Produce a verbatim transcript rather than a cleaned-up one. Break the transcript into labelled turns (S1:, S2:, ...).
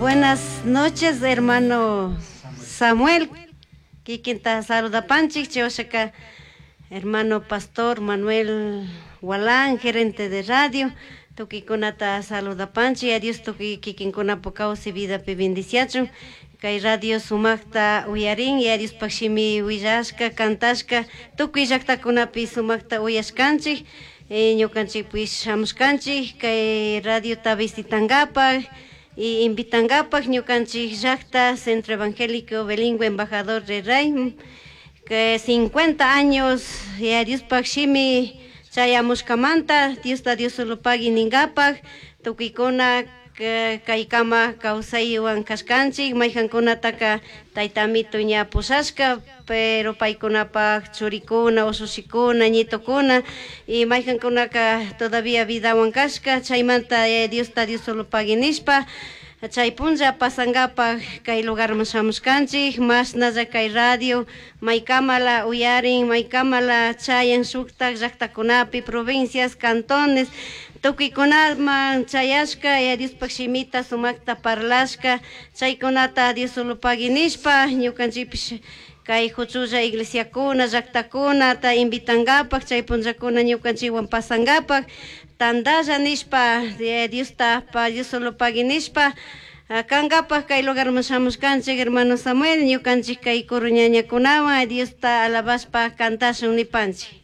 S1: Buenas noches, hermano Samuel. Kikinta saludapanchik, chayushaka hermano pastor Manuel Walán, gerente de radio. Tukuikunata saludapanchik, a Dios tukuy kikinkunapak kawsay vidapi bendiciachun. Kay radio sumakta uyarin, y a Diospaj shimi willashka, cantashka, tukuy llaktakunapi sumakta uyashkanchik. Eh, ñukanchikpish shamushkanchik kay radiota visitangapaj y invitangapaj ñukanchik llakta Centro Evangélico Bilingüe Embajador de Rey que cincuenta años y a Diospaj shimi chayamushkamanta Diosta Dios solo pagui ningapaj tukuykuna kaykama kawsaywan kashkanchik mayjankunataka tayta amito ña pushashka pero paykunapaj churikuna ushushikuna ñitokuna y mayjankunaka todavía vidawan kashka chaymanta Diosta Dios solo pagui nishpa chay punlla pasangapaj kay lugarman shamushkanchik mashnalla kay radio maykamala uyarin maykamala chayan shuktak llaktakunapi provincias cantones tukuykunaman chayashka y Diospaj shimita sumakta parlashka chaykunata Dios solo pagui nishpa ñukanchikpish kay huchulla iglesiakuna llaktakunata invitangapaj chay punllakuna ñukanchikwan pasangapaj tandalla nishpa Diosta Dios solo pagui nishpa kangapaj kay lugarman shamushkanchik hermano Samuel ñukanchik kay coro ñañakunawan Diosta alabashpa cantashun nipanchik.